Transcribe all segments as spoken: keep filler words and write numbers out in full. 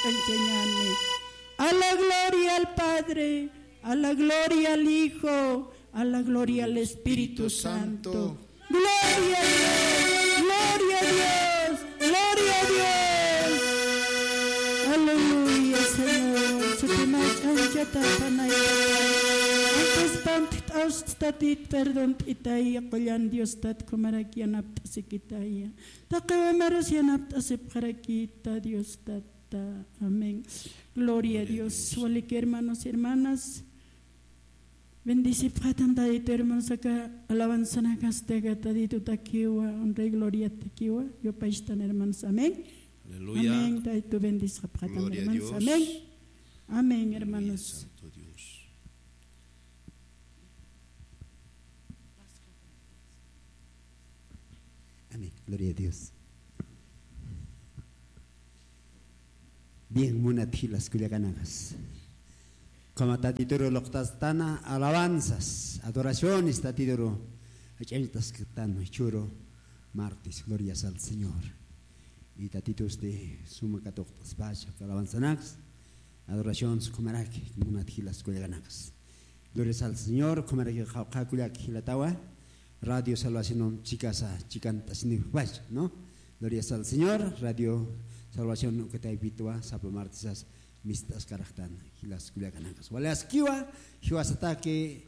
ch'anchañäni. A la gloria al Padre, a la gloria al Hijo, a la gloria al Espíritu Santo. Gloria a Dios, gloria a Dios, gloria a Dios. Aleluya, Señor. Sutimat ch'anchata panay. Antes pant't'awst tatit perdón t'itaya, qullan Diostat, kumarak yanapt'asikitaya. Taqi umaras yanapt'asipxarakita Diostata. Amén. Gloria a Dios. Walik hermanos, hermanas. Bendecipxatan Tatitu, hermanos, aka alabanzanakasti aka Tatitutakiwa, honra y gloriatakiwa, yupaychtan, hermanos. Amén. Aleluya. Amén. Tatitu bendecipxatan, hermanos. Amén. Amén, hermanos. Santo Dios. Amén. Gloria a Dios. Bien, munat jilas kullakanakas. Como Tatituru luqtastana alabanzas, adoraciones Tatituru ach'añtasktan churu martes, glorias al Señor. Y Tatitusti suma katuqt'aspacha alabanzanakas, adoraciones kumaraki, munat jilas kullakanakas. Glorias al Señor, kumaraki qawqha kullak jilatawa, Radio Salvación chikasa chikant'asiniwpacha, ¿no? Glorias al Señor, Radio Salvación ukataypitwa, sapa martesas mist'askaraxtan, jilas kullakanakas. Wali askiwa, jiwasataki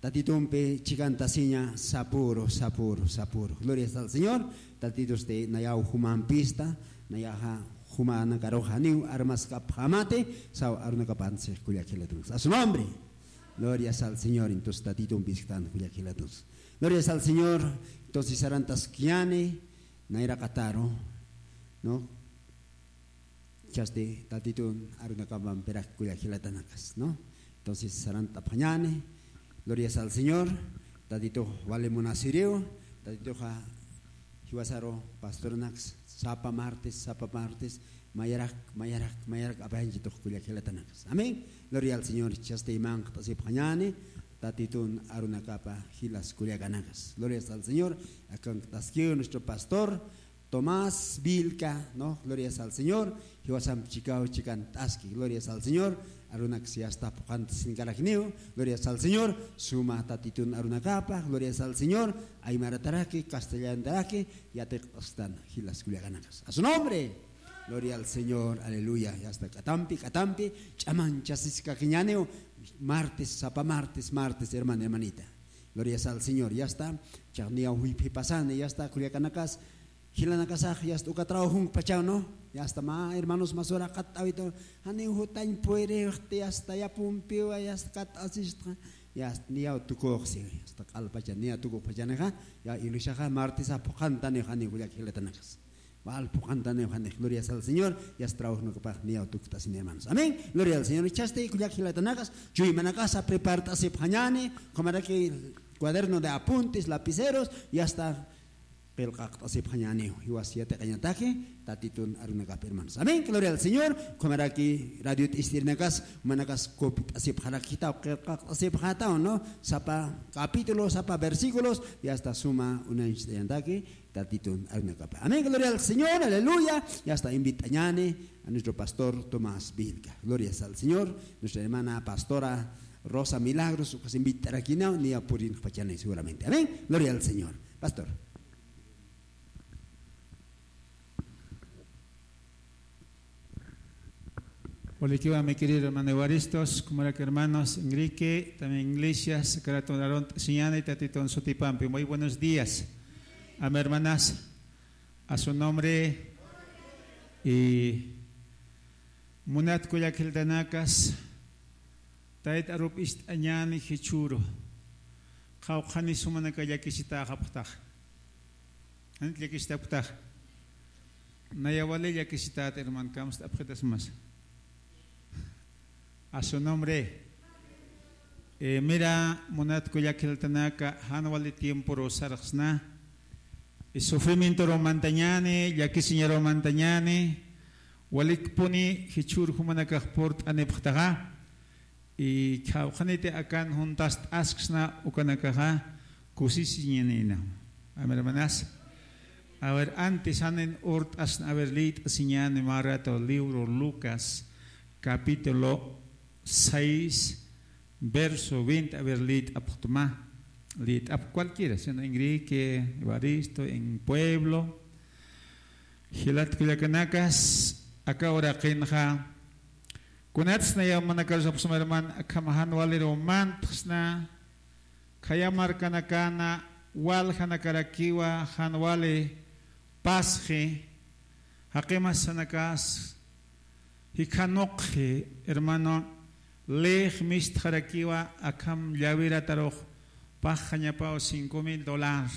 Tatitumpi chikantasiña sapüru, sapüru, sapüru. Glorias al Señor, Tatitusti nayaw jumampista, nayaxa jumanakarux janiw armaskapxamati, saw arunakapansi kullak jilatanas. A su nombre. Glorias al Señor, entonces Tatitumpi isktan kullak jilatanas. Glorias al Señor, entonces sarantaskiñani, nayraqataru, ¿no? Chasti Tatitun arunakapampirak kullak jilatanakas, ¿no? Entonces, sarantapxañani, glorias al Señor, Tatitux wali munasiriw, Tatituxa jiwasaru pastoranakas, sapa martes, sapa martes, mayarak, mayarak, mayarak apayanchitux kullak jilatanakas. Amén. Gloria al Señor, chasti manqt'asipxañani, Tatitun arunakapa jilas kullakanakas. Glorias al Señor, akanqt'askiw nuestro pastor, Tomás Vilca, ¿no? Glorias al Señor. Jiwasamp chikaw chikant'aski. Glorias al Señor. Arunaks yasta phuqhantasiñkarakiniw. Glorias al Señor. Suma Tatitun arunakapa. Glorias al Señor. Aymarataraki, castellanotaraki yatiqt'astan jilas kullakanakas. A su nombre. Gloria al Señor. Aleluya. Yasta k'atampi, k'atampi ch'amanchasiskakiñaniw. Martes, sapa martes, martes, hermana, hermanita. Glorias al Señor. Yasta. Chaqniyaw juyphipasani. Yasta kullakanakas. Jilanakasax yasta uka trabajunkpachaw, ¿no? Yasta mä hermanos masura qat'awita, janiw jutañ puyrixti, yasta yapumpiwa, yasta kat'asistxa, yasta niyaw tukuxsi, yasta q'alpacha niyaw tukuxpachanixa, ya iglesiaxa martesa phuqhantaniw janiw kullak jilatanakas. Wal phuqhantaniw janiw, glorias al Señor, yasta trabajunakapax niyaw tukt'asini hermanos. Amén. Gloria al Señor. Chasti kullak jilatanakas, chuymanakasa prepart'asipxañani, kumaraki cuaderno de apuntes, lapiceros, yasta qillqaqt'asipxañäniw, jiwas yatiqañataki Tatitun arunakap hermanos. Amén. Gloria al Señor. Kumaraki radio t'ist'irinakas, manakas copyt'asipxarakitaw, qillqaqt'asipxataw, ¿no? Sapa capítulo, sapa versículos, yasta suma uñacht'añataki Tatitun arunakapa. Amén. Gloria al Señor. Aleluya. Yasta invitañani a nuestro pastor Tomás Vilca. Glorias al Señor. Nuestra hermana pastora Rosa Milagros, ukas invitarakinaw, niya purinxpachani seguramente. Amén. Gloria al Señor. Pastor. Walikiwa, mi querido hermano Evaristos, kumarak hermanos Enrique, también iglesia, Sacrato Naront, Siñana y Tatitun sutipampi. Muy buenos días. Amén, hermanas. A su nombre. Y munat kullak jiltanakas, tayta arup ist'añani jichhüru. Qawqhani sumanaka llakisitaxapxtax. Janit llakisitapxtax. Naya wali llakisitat, hermano, kamst'apxitasmas. A su nombre. Eh, mira, munat kullak jiltanaka, jan wali tiempuru sarxsna. Y sufrimientoru mantañani, llakisiñaru mantañani, walikpuni jichhür jumanakax purt'anipxtaxa. Y qhawqhaniti akan juntast'asksna ukanakaxa kusisiñanïna. Amén, hermanas. A ver, antes janin urt'asna, a ver, liyt'asiñäni mä rato libro Lucas, capítulo seis, verso veinte, a ver, liyt'apxtma, liyt'ap cualquiera, sino en Enrique, Evaristo, en Pueblo. Jilat kullakanakas, aka uraqinxa, kunatsna yamanakarusapxsma hermano, akham jan waliru mantxsna, khaya markanakana, waljanakarakiwa, jan wali pasxi, jaqimas sanakas, jikhanuqxi, hermano, lix mistxarakiwa, akham llawiratarux, paxañapaw cinco mil dólar,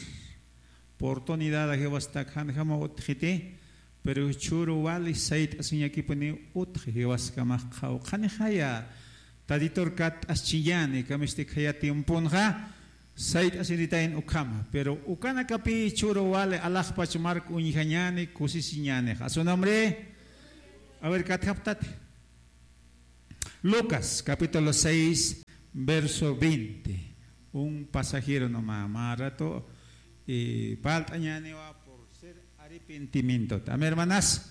oportunidad jiwastak janjama utjiti, pero jichhüru wali sayt'asiñakipuniw utji jiwaskamax qhawqhanixaya, Tatitur katt'aschiñäni, kamisti khaya tiemponxa, sayt'asiritayna ukhama, pero ukanakapï jichhüru wali alaxpach mark uñjañäni, kusisiñänixa. A su nombre. A ver, katjaptati. Lucas, capítulo seis, verso veinte. Un pasajero nomás, mä rato, eh, palt'añäniwa por ser arrepentimiento. Amén, hermanas.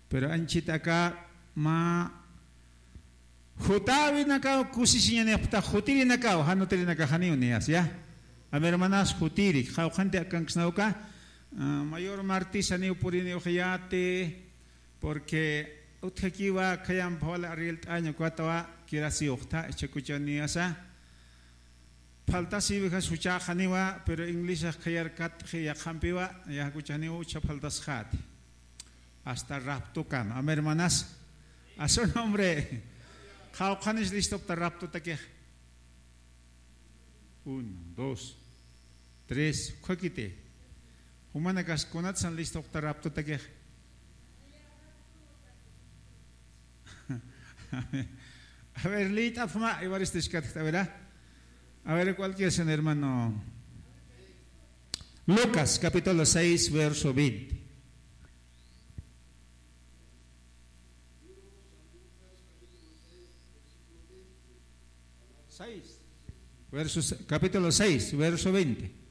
Pero anchhit aka mä jutäwinakaw kusisiñanipxta, jutirinakaw, jan jutirinakax janiw niyas, ya. Amén, hermanas, jutiri, qhawqhanti akanksnawka, ah, mayor martis janiw puriniw xayäti, porque utjakiwa khayamp wali arreglt'añ ukatwa kirasiwxta, ichhakuchaw niyasa. Faltasiwixas juchäxaniwa, pero inglesax khayar katt'xi yaqhampiwa, ya jukuchaniw jucha faltasxäti. Hasta raptokama. Amén, hermanas. A su nombre. Qhawqhanis listopxta raptotakix. Uno, dos, tres, ukhakiti. Jumanakas kunatsan listopxta raptotakix. A ver, liyt'apxma, Evaristo, iskatxt, a ver, ah. A ver, ¿cuál quieres, hermano? Lucas, capítulo seis, verso veinte. Seis. Verso se-, capítulo seis, verso veinte.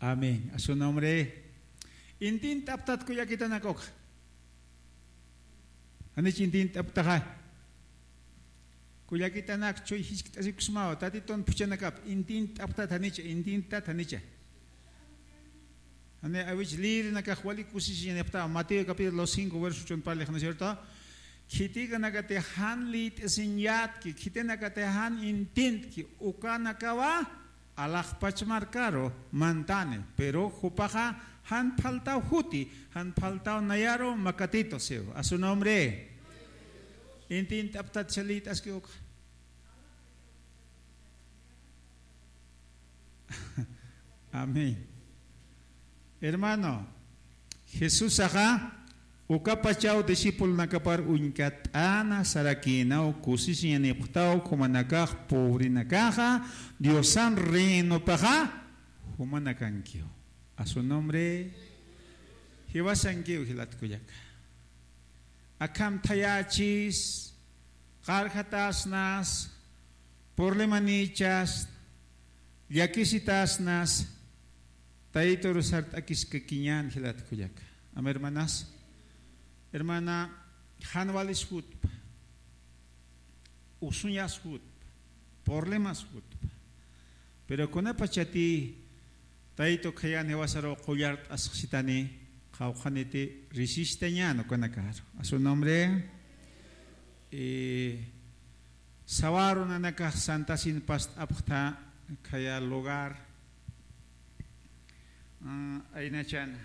Amén. A su nombre. Intint'apxtat kullakitanak ukxa. Janich intint'apxtaxa. Kullakitanak chuy jiskt'asikusmawa, Tatitun phuchhanakap, intint'apxtat janicha, intint'tat janicha. Jani awich liyirinakax wali kusisiñanipxta, Mateo capítulo cinco, verso ocho parlix, ¿no es cierto? Khitikanakati jan liyt'asiñatki, khitinakati jan intint'ki, ukanakawa alaxpach markaru mantani, pero jupaxa jan faltaw juti, jan faltaw nayaru makatitu siw. A su nombre. Intint'apxtat chalït'aski ukxa. Amén. Hermano, Jesusaxa ukapachaw discipulonakapar uñkat'ana sarakïnaw, kusisiñanipxtaw jumanakax, pobrenakaxa Diosan reinopaxa jumanakankiw. A su nombre. Jiwasankiw jilat kullaka. Akham thayächis, qarjatäsnas, problemanïchas, llakisitäsnas, Taytur sart'akiskakiñän jilat kullaka. Amén, hermanas. Hermana, jan walis jutpa, usuñas jutpa, problemas jutpa. Pero kunapachatï Taytu khayän jiwasaru qullart'asxsitani, qawqhaniti risistañän ukanakaru. A su nombre. Eh, sawa arunanakax santasin past'apxta khaya lugar, ah, aynachan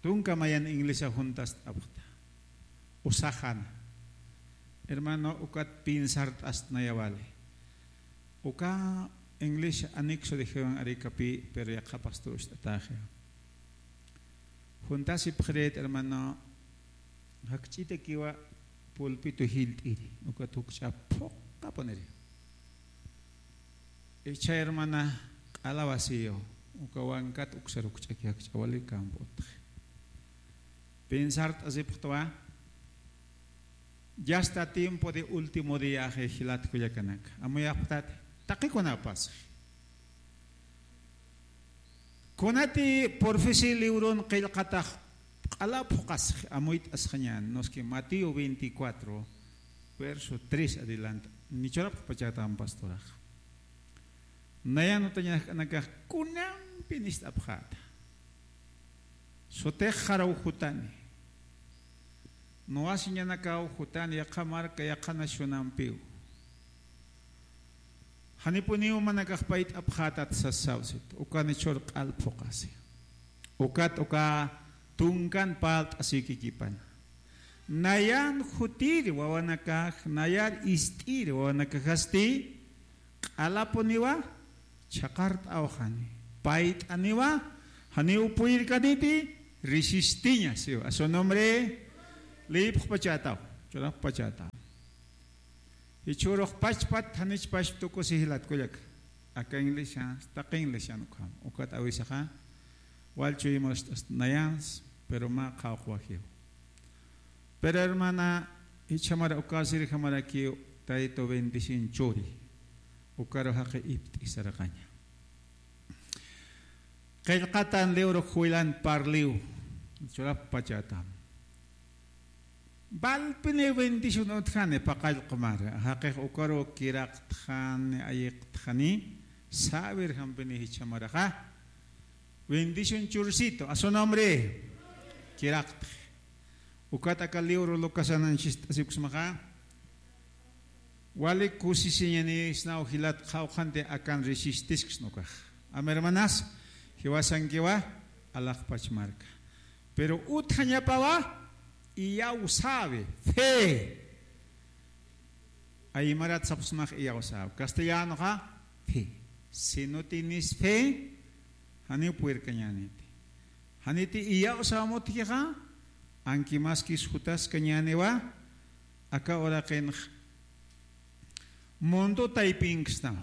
tunka mayan inglesa juntast'apxta. Usaxana. Hermano, ukat piensart'astnaya wali. Uka inglés anexo dijeron Aricapi, pero yaqha pastor ucht'ataxi. Juntasipxirït, hermano, jakch'itakiwa pulpito jilt'iri, ukat jukch'a phuqapuniri. Icha hermana, Alabasiyo. Uka wankat uksar ukch'aki jakch'awali kamp'utxi. Pensart'asipxtwa. Ya está tiempo de último día jilat kullakanaka. Amuyapxtat. Taqikunapas. Kunati profecía libron qillqatax q'ala phuqasxi amuyt'asxañän, noski Mateo veinticuatro, verso tres adelante. Nichurapxpachätam pastorax. Nayan utañaxk'anakax kunampi nist'apxäta. Sutix jaraw jutani. Nuwasiñanakaw jutani yaqha marka yaqha nacionampiw. Janipuniw manakax payt'apxätat sasawsit. Ukan churq'al phuqasi. Ukat uka tunkan parlt'asïkikipana. Nayan jutiri wawanakax, nayar ist'iri wawanakaxasti, q'alapuniwa chhaqart'awxani. Payt'aniwa, janiw purirkaniti, resistiña, siwa. A su nombre, liyipxpachätaw, churapxpachätaw. Jichhürux pachpat, janich pachp tukusi jilat kullaka. Aka inglesian, taqi inglesian ukham. Ukat awisaxa, wal chuymax nayans, pero mä qhawqwajiw. Pero hermana, jichhamara ukasirjamarakiw, Taytu bendición churi. Ukaru jaqi ipt'i saraqaña. Qillqatan libro Juelan parliw, churapxpachätam. Valpini bendición utjani paqallq'umara, jaqix ukaru kiraqtxani, ayiqtxani, säwirjampini jichhamaraxa. Bendición chursitu, a su nombre, kiraqtxi. Ukat aka libro Lucasanan chist'asikusmaxa. Wali kusisiñanisnaw jilat qhawqhanti akan resistisksna ukax. Ama hermanas, jiwasankiwa, alaxpach marka. Pero utjañapawa, iyawsäwi, fe. Aymarat sapxsmax iyawsäwi. Castellanoxa, fe. Si no tienes fe, janiw purirkañäniti. Janiti iyawsämutkixa, anki maskis jutaskañäniwa, aka uraqinx mundo taypinksnaw.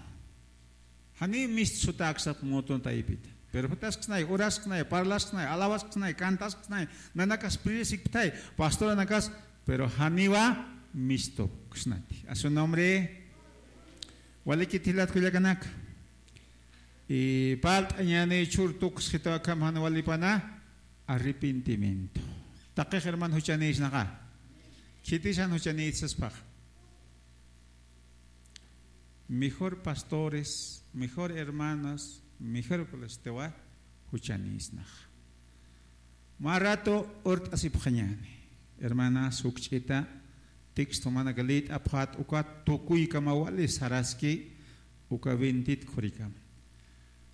Jani mist sutäksap mundo taypita. Pero jutasksnay, urasksnay, parlasksnay, alawasknay, cantasksnay, nanakas prisikptay, pastoranakas, pero janiwa mistuksnati. A su nombre, walikit jilat kullakanaka. Y parlt'añäni chur tuksxitaw akham jan walipana, arrepentimiento. Taqix hermano juchanïsnaxa. Khitisan juchanït saspax. Mejor pastores, mejor hermanos, mejor que los tewa juchanïsnaxa. Mä rato urt'asipxañäni. Hermanas, jukch'ita, texto manaka liyt'apxät ukat tukuykama wali saraski uka bendit khurikama.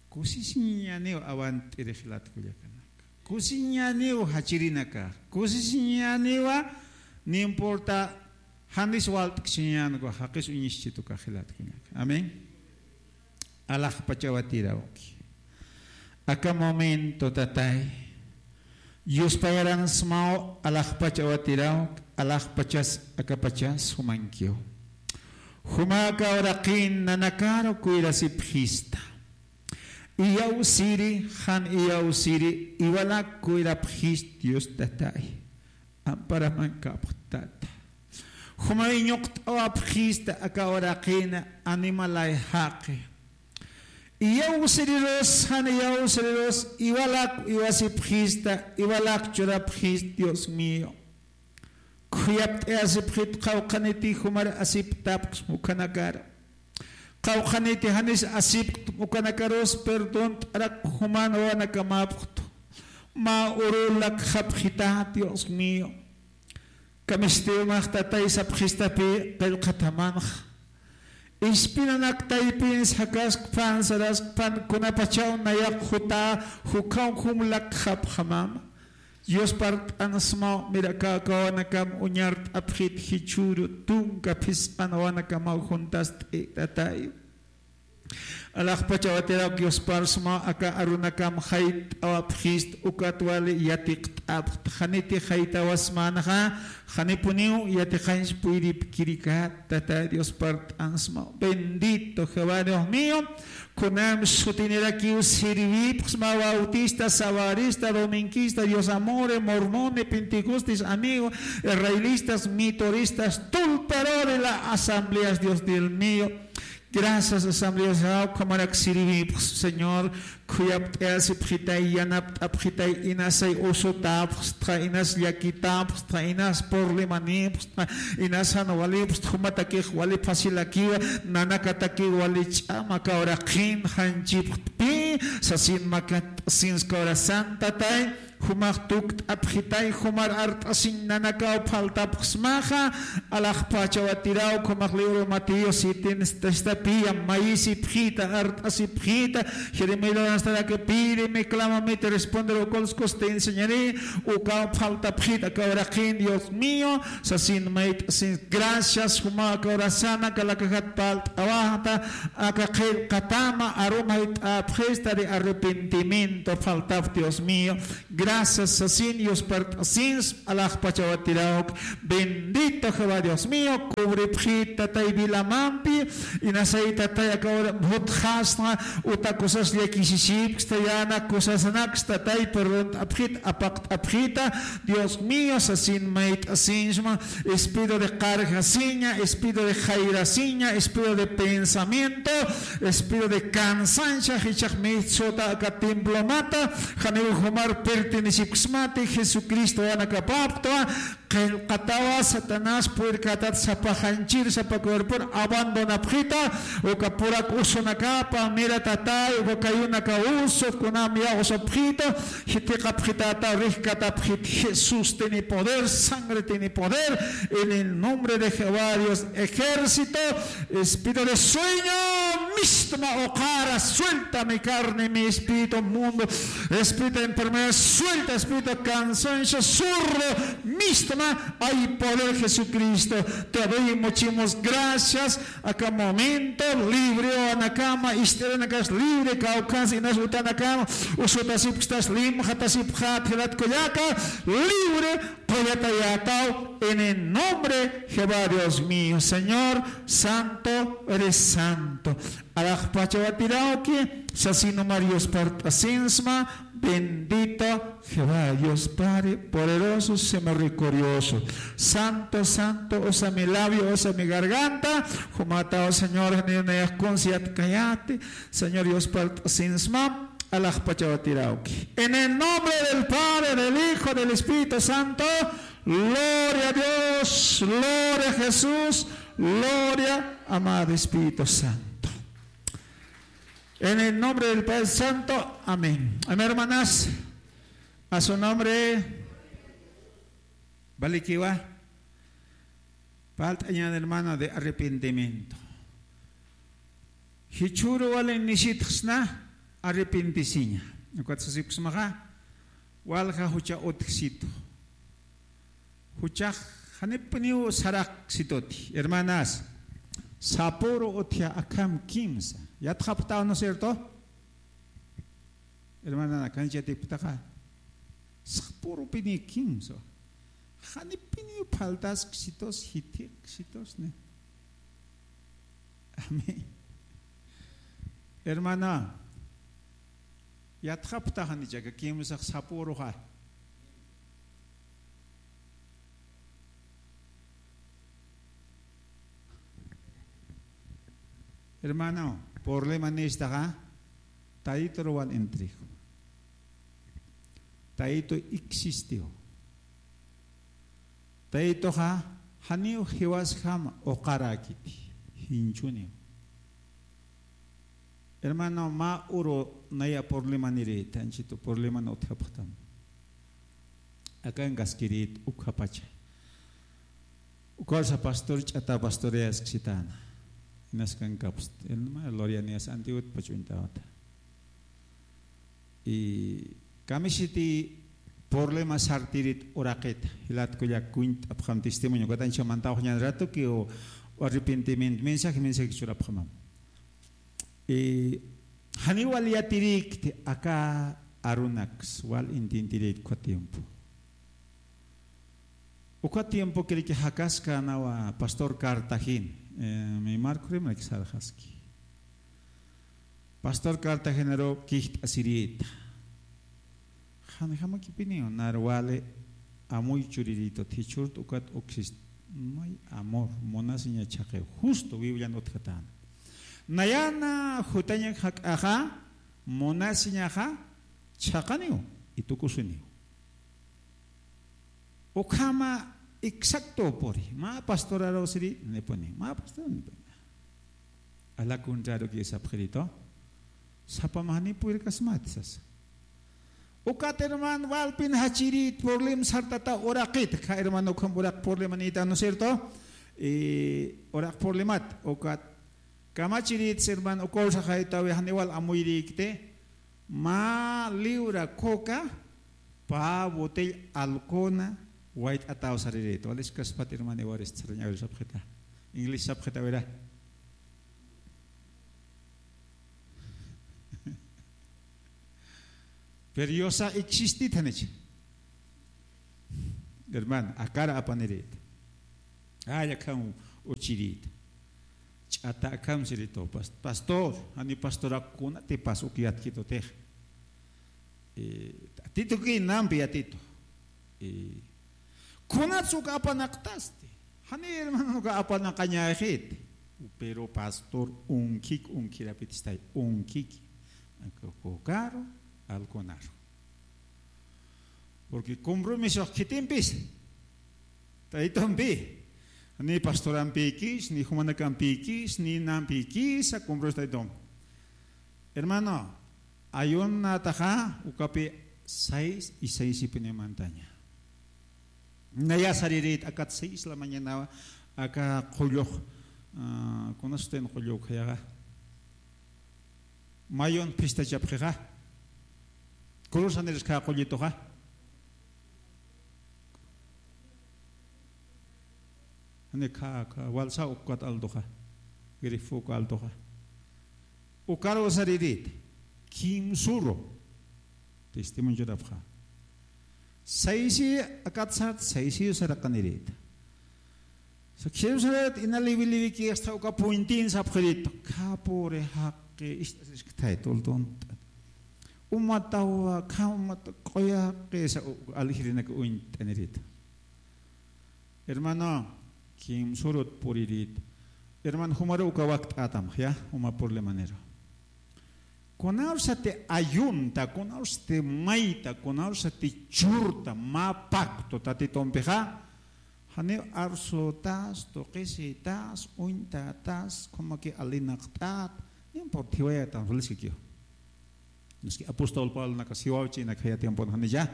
Kusisiñäniw awant'iri jilat kullakanaka. Kusisiñäniw jachirinaka. Kusisiñäniwa, no importa, janis walt'ksiñän uka jaqis uñischit uka jilat kullaka. Amén. Alaxpachawatirawki. Aka momento, tatay. Yuspayaransmaw alaxpachawatirawki, alaxpachas, akapachas, jumankiw. Juma aka uraqin nanakaru kuyrasipxista. Iyawsiri, jan iyawsiri, iwalak kuyrapxist Dios tatay. Amparaman kapxtata. Juma iñuqt'awapxista aka uraqina animalay jaqi. Iyawsirirus, jan iyawsirirus, iwalak iwasipxista, iwalak churapxist, Dios mío. Khuyapt'ayasipxit qhawqhaniti jumar asiptapxsma ukhanakar. Qhawqhaniti janis asipkt ukanakarus perdont'arak juman wawanakamapxtu. Mä urulak japxita, Dios mío. Kamistiw max tatay sapxistapi qillqatamanxa. Ispinanak taypin sakaskpan, saraskpan, kunapachaw nayax juta, jukhaw jumlak japxamama. Dios parlt'ansmaw, mira, aka wawanakam uñart'apxit jichhüru tunka phisqan wawanakamaw juntast'i, tatay. Alaxpachawatirawki, yusparsma aka arunakam jayt'awapxist, ukat wali yatiqt'apxt, janiti jaytawasmänxa, janipuniw yatiqañs puyripkirikä, Tatay Dios parlt'ansma. Bendito Jehová Dios mío, kunam sutinirakiw sirvipxsma, bautista, sabarista, dominguista, Dios amore, mormone, pentecostes, amigo, israelitas, mitoristas, tulpero de la asambleas, Dios Dios mío. Gracias, Asamblea Dios, ukhamarak sirvipxs, Señor, khuyapt'ayasipxitay, yanapt'apxitay, inasay usutapxstxa, inas llakitapxstxa, inas problemanipxstxa, inas jan walipxstxa, jumatakix wali fácilakiwa, nanakatakiw wali ch'ama kawraqin, janchipxtpi, sasin makat, sinskawra santatay, jumax tukt'apxitay, jumar art'asiñ nanakaw faltapxsmaxa, alaxpachawatiraw, jumax libro Mateo siete, esta, esta piyam mayisipxita, art'asipxita, Jeremías, hasta que pídeme, clámame, te responderé, ukaw enseñaré, ukaw faltapxita, kawraqin, Dios mío, sasin mayt'asin, gracias, juma kawrasana, kalakajat palt'awajta, aka qillqatama, arumay t'apxista de arrepentimiento, faltap, Dios mío, Gracias, sasin, yuspart'asins, alaxpachawatirawk. Bendito Jehová Dios mío, cubripxit, Tatay, vilamampi, inasay, Tatay, akawra jutxasna, uta cosas llakisisipksta, yana cosasnaksta, Tatay, perdont'apxit, apaqt'apxita, Dios mío, sasin, mayt'asinsma, espíritu de cargasiña, espíritu de jairasiña, espíritu de pensamiento, espíritu de cansancio, jichhax mitsota aka templomata, janiw jumar pertenecipxsmati, Jesucristo wanakapaptwa, qillqatawa, Satanás puyrkatat sapa janchir, sapa cuerpor abandonapxita, uka purak usunakapa, mira, Tatay, uka kayunaka usu, kunam ya usapxita, jitiqapxitata, rijkatapxit, Jesús tiene poder, sangre tiene poder, en el nombre de Jehová Dios, ejército, Espíritu de sueño, mistma uqara, suelta mi carne, mi espíritu mundo, espíritu de enfermedad, suelta, espíritu de cansancio, zurdo, mistma, hay poder Jesucristo. Te doy muchísimas gracias. Aka momento, libre anakama, ist'iranakas libre, kawkhans inas utanakama, usutasipxtas, limxatasipxat, jilat kullaka, libre, Qullatayätaw en el nombre Jehová Dios mío, Señor, santo eres santo. Alaxpachawatirawki, sasinumar yuspart'asinsma, bendito Jehová Dios Padre, poderoso, misericordioso. Santo, santo, usa mi labio, usa mi garganta, jumataw Señor, janiw nayax conciertkayäti, Señor yuspart'asinsma, alaxpachawatirawki. En el nombre del Padre, del Hijo, del Espíritu Santo, gloria a Dios, gloria a Jesús, gloria, amado Espíritu Santo. En el nombre del Padre Santo, amén. Amén, hermanas. A su nombre. Valikiwa. Palt'añan, hermano, de arrepentimiento. Jichhüru wali nisitxsna arrepentisiña. Ukat sasipksmaxa, walja jucha utjsitu. Juchax janipuniw saraqsituti. Hermanas, sapüru utja akham kimsa. Yatxapxtaw, ¿no es cierto? Hermana, kanchati ptaqa. Sapürupini kimsa. Janipini faltasksitus, jithiqksitus, ¿no? Amén. Hermana, yatxapxta janicha aka kimsax sapüruxa. Hermano, problema nistaxa, Tayituruwan entrego. Tayitu existiw. Tayituxa, janiw jiwasjam uqarakiti, jinchuniw. Hermano, mä uru naya problemaniri, tanchitu probleman utjapxtam. Akankaskirit ukhapacha. Ukawsa pastor ch'ata pastoreasksitäna. Inaskankapusti. Hermana Lorianias antiwit pach'uñtawata. Y kamisiti problema sartirit uraqita. Jilat kullak kuñt'apxam testimonio. Katancha mantawaxñan ratuki o arrepentimiento. Mensaje, mensaje churapxamam. Eh, janiw wal yatirïkti aka arunaks, wal intintirït uka tiempo. Uka tiempo kiriki jakaskanawa pastor Cartagena, eh, mi marco rimanaki sarjaski. Pastor Cartagenaru kijt'asirïta. Janjamakipiniw, nar wali amuy churirïtut, jichhüruta ukat uksist, no hay amor, munasiña chhaqiw. Justo Biblian utjatäna. Nayana jutañak jak'axa, munasiñaxa chhaqaniw y tukusiniw. Ukhama exacto puri. Mä pastoraru siri, nipuni. Mä pastor, nipuni. A la contrario que sapxirïtu. Sapa mä ni purirkasmati sasa. Ukat hermano, walpin jachirït, problem sartata uraqit. Ka hermano, ukham uraq problemanïta, ¿no es cierto? Y uraq problemat, ukat kamachirït, hermano, ukaw saxaytawi, janiw wal amuyirïkti. Mä libra coca, pä botella alcoholna wayt'ataw sarirït. Waliskaspat hermano, iwarist sarañawir sapxita. Inglés sapxitawira. Pero Diosa existit janichi. Hermano, akar apanirït. Ay, akham uchirït. Ch'ata akham sirïtu, pas-, pastor, jani pastorak kunatipas uk yatkitutix. Eh, yatitu ki nampi yatitu. Eh, kunats uk apanaqtasti. Jani hermano uk apanaqañäxit. Pero pastor, unkik, unkirapitistay, unkik. Cocaru, alcoholnaru. Porque compromiso khitimpis. Taytumpi. Ni pastorampikis, ni jumanakampikis, ni nampikisa compromiso taytum. Hermano, ayunataxa ukapi seis y seis y piña mantaña. Naya sarirït akat seis la mañana, aka qullux, ah, kunastin qullux khayaxa. Mayun phistachapxixa. Cruz janiris kha qullituxa. Jani kha, kha, walsa ukat altuxa. Grifo uka altuxa. Ukaru sarirït. Kimsuru. Testimonio churapxa. Saisi akat sat, saisi saraqanirït. Sa Jerusalén ina liwi liwi ki hasta uka puintin sapxirït. Kha pobre jaqi, ist'asisktay tultun. Umatawa, kha umata q'uyaqi, sa u-, aljirinak uñt'anirït. Hermano, kimsurut purirït. Hermano, jumaru uka wakt'atam, ya, juma problemaniru. Kunawsati ayunta, kunawsati mayta, kunawsati churta, mä pacto Tatitumpixa, janiw arsutas, tuqisitas, uñtatas, kunamaki alinaqt'at, no importa, jiwayatam, feliz kikiw. Maski apóstol Pablo naka siwawchinak jaya tiempon janilla,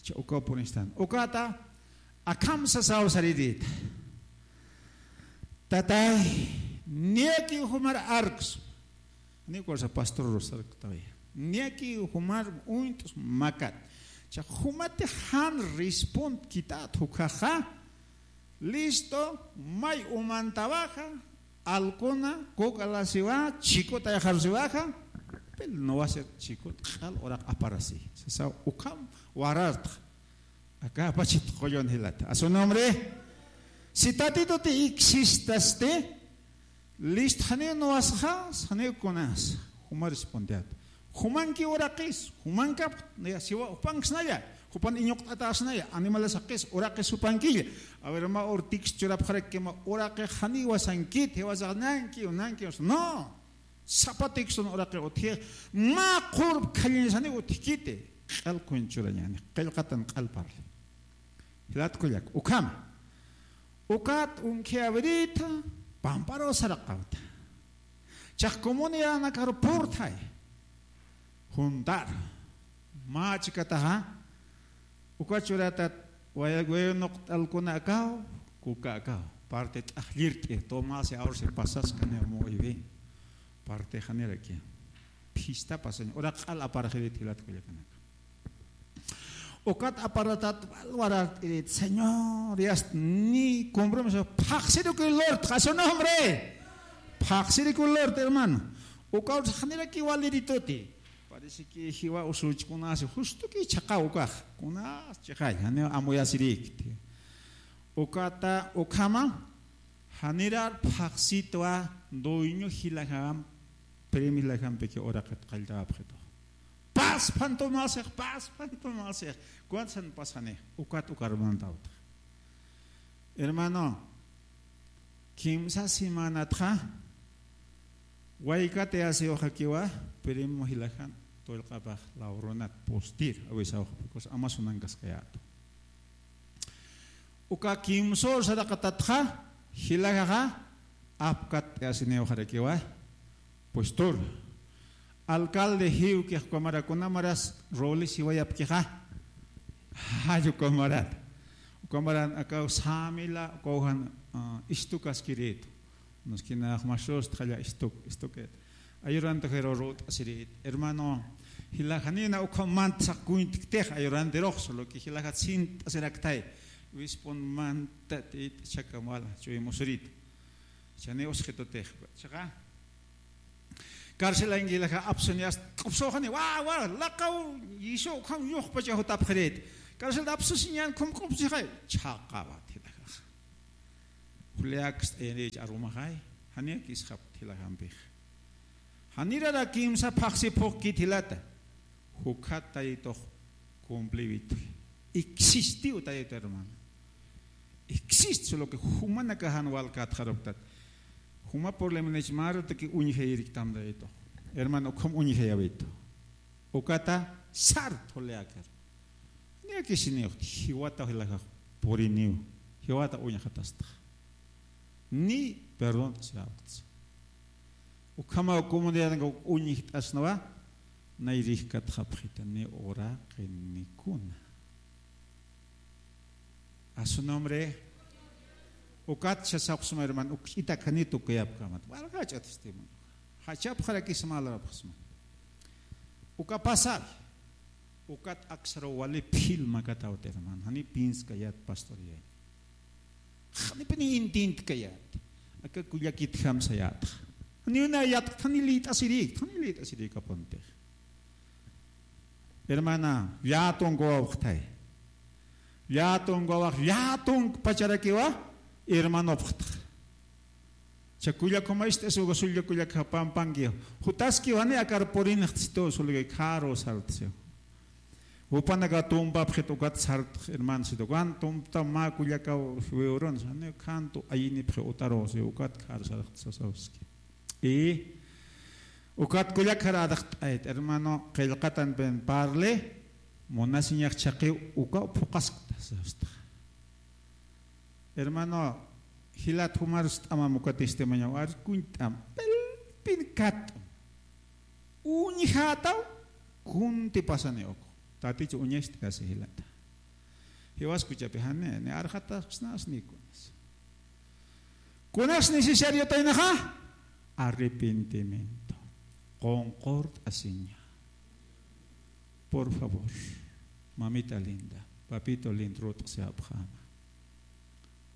cha uka puristan. Ukata, akham sasaw sarirït. Tatay, niyakiw jumar arks. Ni cosa pastor rosar tawaya. Niyakiw jumar uñt'us makat. Cha jumati jan respond kitat jukhaxa. Listo, may umantawaxa, alkuna, kuk'alasiwa, chikut ayxarusiwaxa, pero no va a ser chikut, q'al uraq aparasi. Sasaw ukham warartx. Aka apachit qullun jilata. A su nombre. Si Tatituti existasti, listo, janiw nuwasxas, janiw kunas. Juma respondiat. Jumanki uraqis, jumankap, naya siwa jupanksnaya, jupan iñuqt'atasnaya, animales jaqis, uraqis jupankilla. A ver, mä urtix churapxarakki mä uraqi janiw wasankit, jiwasax nanki, nanki, no. Sapa texton uraqi utji, mä qurp khallinsani utjkiti, q'al kuñchurañani, qillqatan q'al parli. Jilat kullak, ukham. Ukat unkhi abrirïta, pamparu saraqawta. Chax comunidadnakaru purthay. Juntar. Mä chikataxa. Uka churatat waya-, wayunuqt'alkuna akaw, kuka akaw. Parte t'aqllirt'i, tomasi awrsi pasaskani muy bien. Parte janiraki. Phista pasaña. Ura q'al aparxirit jilat kullakanaka. Ukat aparatat walwarart'irit, Señor, yast ni compromiso, phaxsirikuy lurt, a su nombre. Phaxsirikuy lurt, hermano. Ukaw janiraki walirituti. Parece que jiwa usuchkunasi justo que chhaqaw ukax. Kunas chiqay, janiw amuyasirikti. Ukata, ukhama, janirar phaxsitwa dueño jilaxam, premio jilaxampiki uraqit qalltawapxitu. Pas phantumasix, pas phantumasix. ¿Cuántos han pasani? Ukat ukarmantawta. Hermano, kimsa semanatxa, waykatayasiwxakiwa, primo jilajan, tullqapax, Lauronat, postir, awisawxa, porque Amazonankaskayätu. Uka kimsur saraqatatxa, jilajaxa, apkatayasiniwxarakiwa, puestur. Alcalde jiwkix ukamara kunamaras Robles jiwayapkixa. Jall ukamarat. Ukamaran akaw samila, ukawjan, ah, istukaskiritu. Unas kinax masust jalla istuk, istukit. Ayurantu jiru rut'asirit. Hermano, jila janina ukham mant saq kuyntiktix ayurantirux, solo que jila jat sint'asiraktay. Wispun manta tit chakamala, chuy musurit. Chani usqitutix. Chaqa. Carcelañkilaxa apsuñas, q'upsuxani, wa, wa, laqaw, yisu, ukham yuqpacha jutapxirit. Carcel apsusiñan, khum q'upsixay. Chhaqawat jilaxa. Juliakst'ayanich arumaxay. Janiak isxap jilaxampix. Janirara kimsa phaxsi phuqkit jilata. Jukhat Taytux cumpliwit. Existiw Tayta, hermano. Existe, solo que jumanakax jan walkätxaruptat. Juma problemanich marutaki uñjayiriktam Taytux. Hermano, ukham uñjayawitu. Ukata sar thuliakar. Niyakisiniw, jiwata jilajax puriniw. Jiwata uñjatasta. Ni perdón sirapts. Ukhama comunidad uñjt'asnawa, nayrijkatxapxita ni uraqi ni kuna. A su nombre. Ukat sasapxsma, hermano, uk itakanitu kuyapkamat. Walqacha testimonio. Jachapxarakisma, alarapxsma. Uka pasar. Ukat aksaru wali phil makatawt, hermano. Jani pinskayat pastor yañ. Janipini intintkayat. Aka kullakitjam sayat. Jani una yat, jani lit'asirik, jani lit'asirik apunti. Hermana, llätunk wawqtay. Llätunk wawaq, llätunk pacharakiwa, hermanopxtx. Cha kullakuma ist'asiw, sulla kullak japampanki. Jutaskiw jani akar purinxtsitu, sulgi kharu sartsi. Jupanaka tumpapxit ukat sartx, hermano, situ. Kan tumpta mä kullakaw wiwrun, jani kantu ayinipxi utaru, si ukat khar sartx sasawski. Y ukat kullak khar adaqt'ayt, hermano, qillqatan pen parli, munasiñax chhaqiw ukaw phuqaskta, sasta. Hermano, jilat jumarus t'amam uka testimonio, arkuñ t'am, pelpin kat. Uñjataw, kunti pasani uku. Tatich uñacht'asi jilata. Jiwas kuchapi jani, ni arxatasnas ni kunas. Kunas necesariotaynaxa, arrepentimiento. Qunqurt'asiña. Por favor, mamita linda, papito lindo, rut'siyapxäma.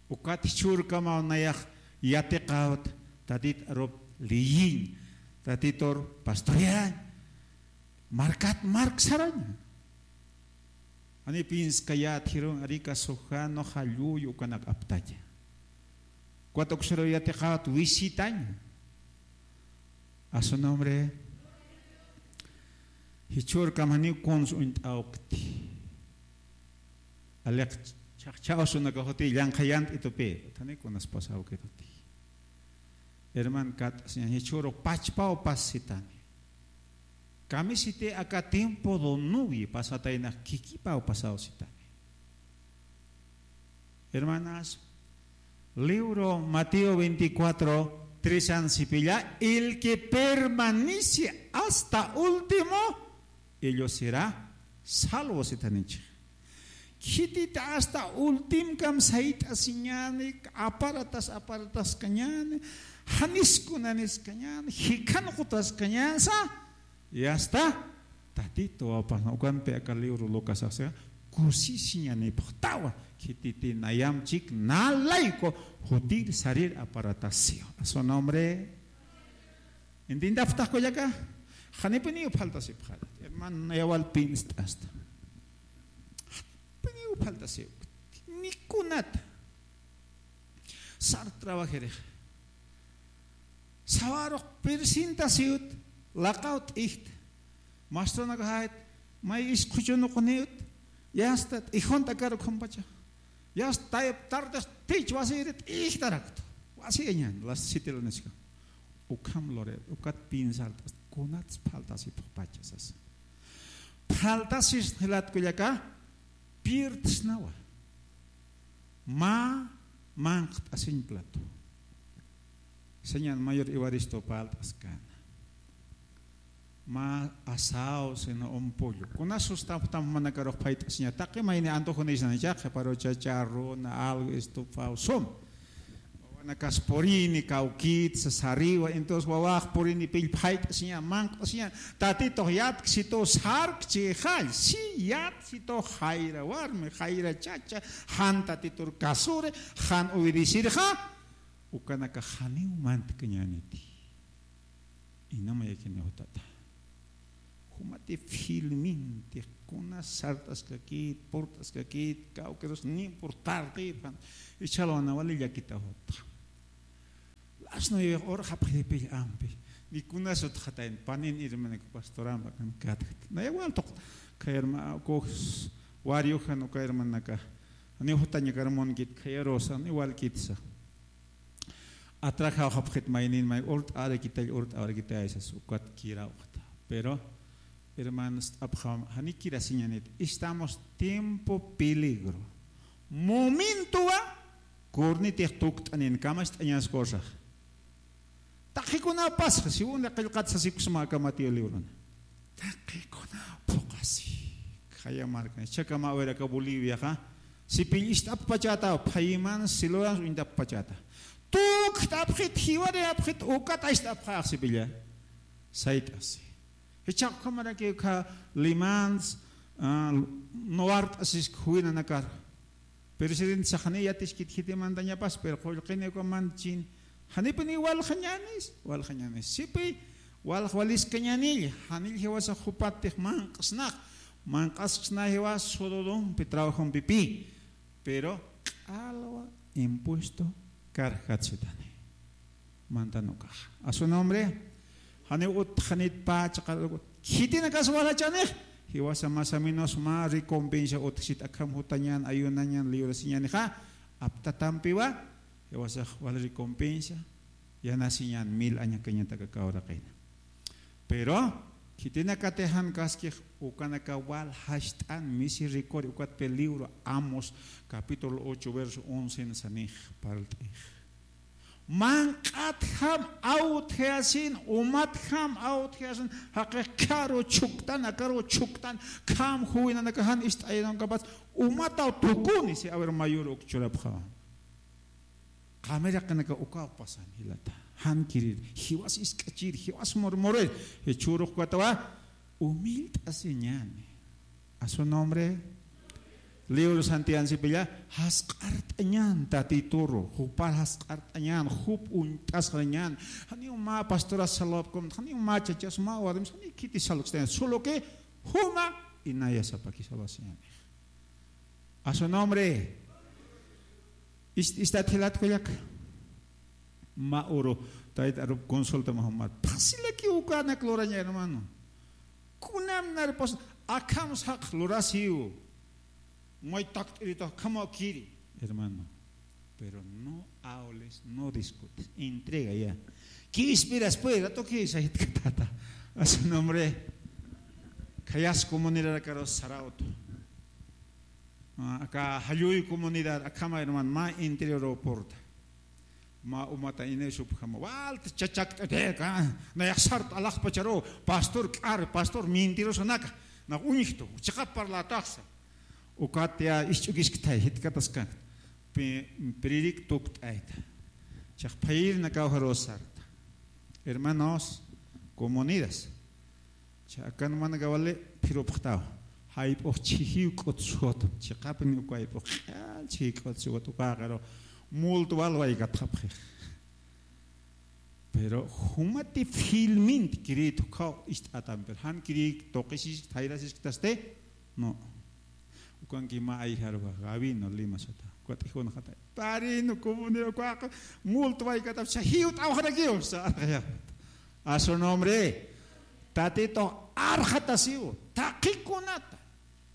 Ukat jichhürkamaw nayax yatiqawt, Tatit arup liyiñ, Tatitur pastoreañ, markat mark sarañ. Jani pinskayät, jiru, arika sujano, jalluy, ukanak aptaña. Ukat uksaru yatiqawt visitañ. A su nombre. Jichhürkam janiw kuns uñt'awkti. Aliq chhaqchhawsunaka juti llanqhayant'itupi. Jani kunas pasawkituti. Herman, kat, jichhüru pachpaw pasitani. Kamisiti aka tiempo do novio pasataynax kikipaw pasawsitani. Hermanas, libro Mateo veinticuatro, tres an sipilla, el que permanece hasta último, ello será salvo, sitanichi. Khitita hasta ultimkam sayt'asiñäni, aparatas, aparatas kañäni, janis kunanis kañäni, jikhan jutas kañänsa, y hasta Tatito wapas, ¿no? Ukampi aka libro Lucas, o sea, kusisiñanipxtawa, khititi nayamchik, nalayku, jutir sarir aparatasiw. A su nombre. Entiendapxtax kullaka, janipiniw faltasipxarat. Hermano, nayawal pinst'asta. Janipiniw faltasiw. Nikunata. Sar trabajirix. Sawarux presentasiwt, laqaw t'ijta. Mastranaka jayt, may isqhuchunuqniwt, yasta t'ijunta karu khumpacha. Yasta tayp tardes tich wasiri t'ijtaraktu. Wasi añan, las siete de la noche. Ukham lore, ukat piensar, kunats faltasipxpacha sasa. Faltasis jilat kullaka, pierdsnawa. Mä manqt'asiñ plato. Señan mayor Evaristo palt'askana. Mä asado, sino un pollo. Kunas sustamp tamp manakarux phayt'asiña. Taqi mayni antojo nisnanicha, qhiparu chacharrona, algo estufado, sum. Wawanakas purini, kawkitsa, sariwa, entonces wawax purini pill phayt'asiña, manqt'asiña. Tatitux yatksitu sarkchi jall, si yatksitu jayra warmi, jayra chacha, jan tatitur kasuri, jan obedecirxa, ukanaka janiw mantkañäniti. Inama yakiniw tata. Jumati filminti, kuna sart'askakit, purt'askakit, kawkirus ni purtarqipan. Ichalwana wali llakita jutxa. Las nueve hora japxiripill ampi. Ni kunas utxatayn panin hermanaku pastorampa kan katkt. Naya waltuq kay herma-, kux wariujan uka hermanaka. Ni jutañakar munkit khayarusa, ni walkitsa. Atrajaw japxit maynin may urt'arakitay, urt'arakitay sas ukat kirawxta. Pero, hermanos, t'apxam, jani kirasiñanit. Estamos tiempo peligro. Momentowa, kurnitix tukt'anin, kamacht'añas cosas. Taqikuna pasxa, segunda qillqat sasikusma aka Mateo librona. Taqikuna phuqasi. Khaya markan, chakama awiraka Boliviaxa. Sipill ist'apxpachata, phayiman, siluran, uñtapxpachata. Tukt'apxit, jiwari apxit, ukat ist'apxax sipilla. Sayt'asi. Jichha ukhamaraki ukha limans, ah, nuwart'asis juwinanakar. Presidente saxani yatiskit khitimantañapas, pero qullqini ukaman chin. Janipini walxañanis, walxañanis. Sipi, walx waliskañanilla, janil jiwasa jupatix manq'snax, manq'asksna jiwas sududumpi, trabajumpipi. Pero, q'alwa impuesto karjat sitani. Mantan ukax. A su nombre, janiw utxanit pä chaqar, khitinakas walachanix, jiwasa más o menos mä recompensa utjsit akham jutañan, ayunañan, librasiñanixa, aptatampiwa, jiwasax wal recompensa, yanasiñan mil añakañataka kawraqina. Pero, khitinakatix jan kaskix ukanaka wal jast'an misericordia, ukat pe libro Amos, capítulo ocho, verso once, sanix, parlt'ix. Manq'atjam awtjayasin, umatjam awtjayasin, jaqix kharu chhuktan, akaru chhuktan, kham juwinanaka jan ist'ayanakapas, umataw tukuni, si a ver mayor uk churapxawa. Qamiraqinaka ukaw pasan jilata. Jan kirir, jiwas isk'achir, jiwas murmurir, jichhürux katawa, humilt'asiñani. A su nombre, libro Santiago sipilla, jasq'art'añan tatituru, jupar jasq'art'añan, jup uñt'asxañan, janiw mä pastoras saludapkum, janiw mä chachas, mä warims, janiw khiti saludstañan, solo que juma inayasapaki saludasiñani. A su nombre. Ist-, istat jilat kullaka. Mä uru, tayta arup consulta mä jumar. Fácil aquí ukanak luraña, hermano. Kunam narpas, akham saq lurasiw. May takt'irita, akhamaw kiri, hermano. Pero no hables, no discutes. Entrega ya. ¿Qué esperas, pues? Rato que se tata. A su nombre. Khayas comunidad, caro Sarauto. Ah, aka Jalluy comunidad, akhama hermano, mä interior aeropuerto. Mä umata inay supjama. Walta chachakt'atïka, nayax sart'apacharu, pastor k'ar, pastor mentirosanaka, nax uñjtu, chiqap parlataxsa. Ukat ya isch'ukisktay, jitkataskan. Pi-, piririk tukt'ayta. Chax phayir nakaw jaru sarta. Hermanos, comunidades. Cha akan manaka wali phirupxtaw. Jayp'ux chhijiw k'ut sut. Chiqapin uka jayp'ux q'al chhijiw k'ut sut. Uka qaru multo wal waykatxapxix. Pero jumati filmint kiritu kaw ist'atam, pero jan kiri toqisisk, jayrasisk taste, no. Ukanki ma ayjarwa, gabino lima sata. Kuatijun jata. Parino, comunero, kuaqa, multo waykatap, sa jiw t'awjarakiw, sa arqaya. A su nombre. Tatito arqatasiw, taqikunata.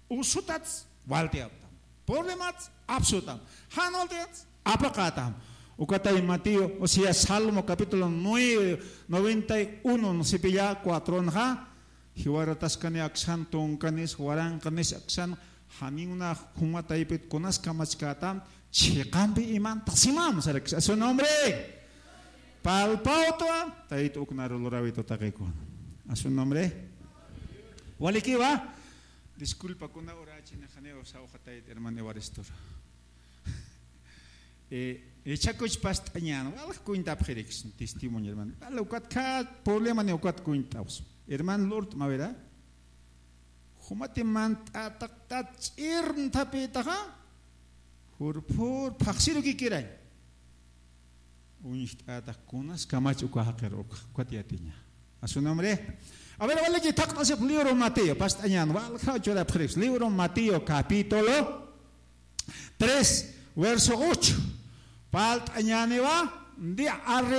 Usutats waltiaptam. Problemats apsutam. Jan waltiats apaqatam. Ukatay Mateo, o sea, Salmo capítulo nueve, noventa y uno, no sé, pilla cuatro, ¿no? Jiwarataskani aksan, tunkanis, waranqanis aksan, janiw na juma taypit kunas kamachkätam, chiqampi imantasimam, sarakis. A su nombre. Palpawtwa, tayt uknaru lurawitu taqikun. A su nombre. Walikiwa. Disculpa, kuna urachini janiw sawja tayt hermano Evarestor. Eh, echakuch past'añan, walja kuñtapxirix testimonio, hermano. Wal ukat kä problema ni ukat kuñt'aws. Hermano Lord, mawira. Jumati mant'ataqtat ch'irnthapitaxa. Jurpur phaxsiru kikirañ. Uñjt'atax kunas kamach uka jaqir uka, ukat yatiña. A su nombre. A ver, waliki, thaqt'asip libro Mateo, past'añan, walja churapxirix. Libro Mateo, capítulo tres, verso ocho. Palt'añaniwa, di arre